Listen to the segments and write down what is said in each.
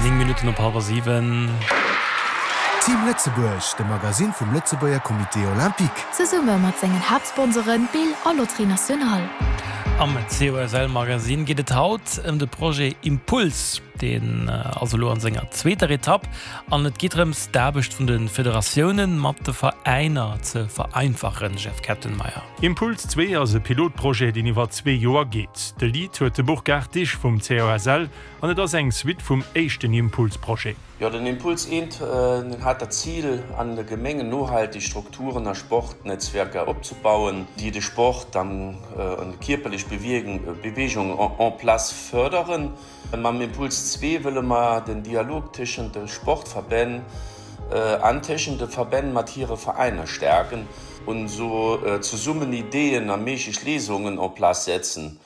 9 Minutten op hallwer 7. Team Lëtzebuerg, de Magasinn vum Lëtzebuerger Comité Olympique. Zesumme mat sengen Haaptsponsoren Bill a Loterie Nationale. Am COSL Magasinn geet et haut ëm de Projet Impuls. Deen ass elo an senger zweeter Etapp an et geet drëms d'Aarbecht vun de Federatioune mat de Veräiner ze vereinfachen, Jeff Kettenmeyer. Impuls 2 ass e Pilotprojet, deen iwwer zwee Joer geet. De Lead huet de Burkhard Disch vum COSL an et ass eng Suite vum éischten Impuls-Projet. Jo, den Impuls eent, den hat dat Zil, an de Gemengen nohaltig Strukturen a Sportnetzwerker opzebauen, déi de Sport an déi kierperlech Bewegung en place förderen. Mam Impuls zwee wëlle mer den Dialog téschent de Sportverbänn an téschent de Verbänn mat hire Veräiner stärken und esou zesummen Ideen a méiglech Léisungen en place setzen.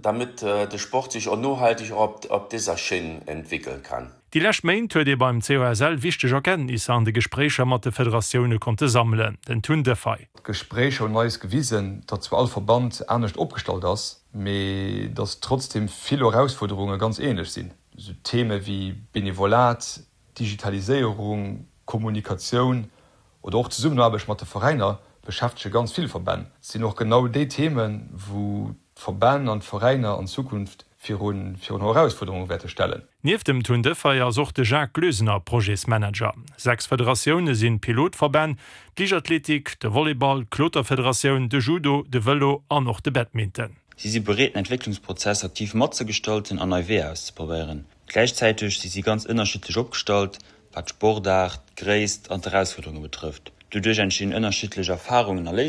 damit de Sport sich och nohaltig op dieser Schinn entwickeln kann. Déi lescht Méint huet ee beim COSL wichteg Erkenntnisser an de Gespréicher mat de Federatioune konnte sammelen. Den Tun Defay. D'Gespréicher hunn eis gewisen, datt zwar all Verband anescht opgestallt ass, mee datt trotzdeem vill Erausfuerderunge ganz änlech sinn. Esou Theme wéi Benevolat, Digitaliséierung, Kommunikatioun oder och d'Zesummenaarbecht mat de Veräiner beschäftege ganz vill Verbänn. Et sinn och genau déi Themen, wou d'Verbänn an d'Veräiner an Zukunft virun Erausfuerderunge wäerte stellen. Nieft dem Tun Defay ass och de Jacques Gloesener Projetsmanager. 6 Federatioune sinn Pilotverbänn, d'Liichtathletik, de Volleyball, d'Kloterfederatioun, de Judo, de Vëlo an och de Badminton. Si si bereet, den Entwécklungsprozess aktiv matzegestalten an nei Weeër auszeprobéieren. Gläichzäiteg si si ganz ënnerschiddlech opgestallt, wat d'Sportaart, d'Gréisst an d'Erausfuerderunge betrëfft. Doduerch entstinn ënnerschiddlech Erfarungen a Léisungen.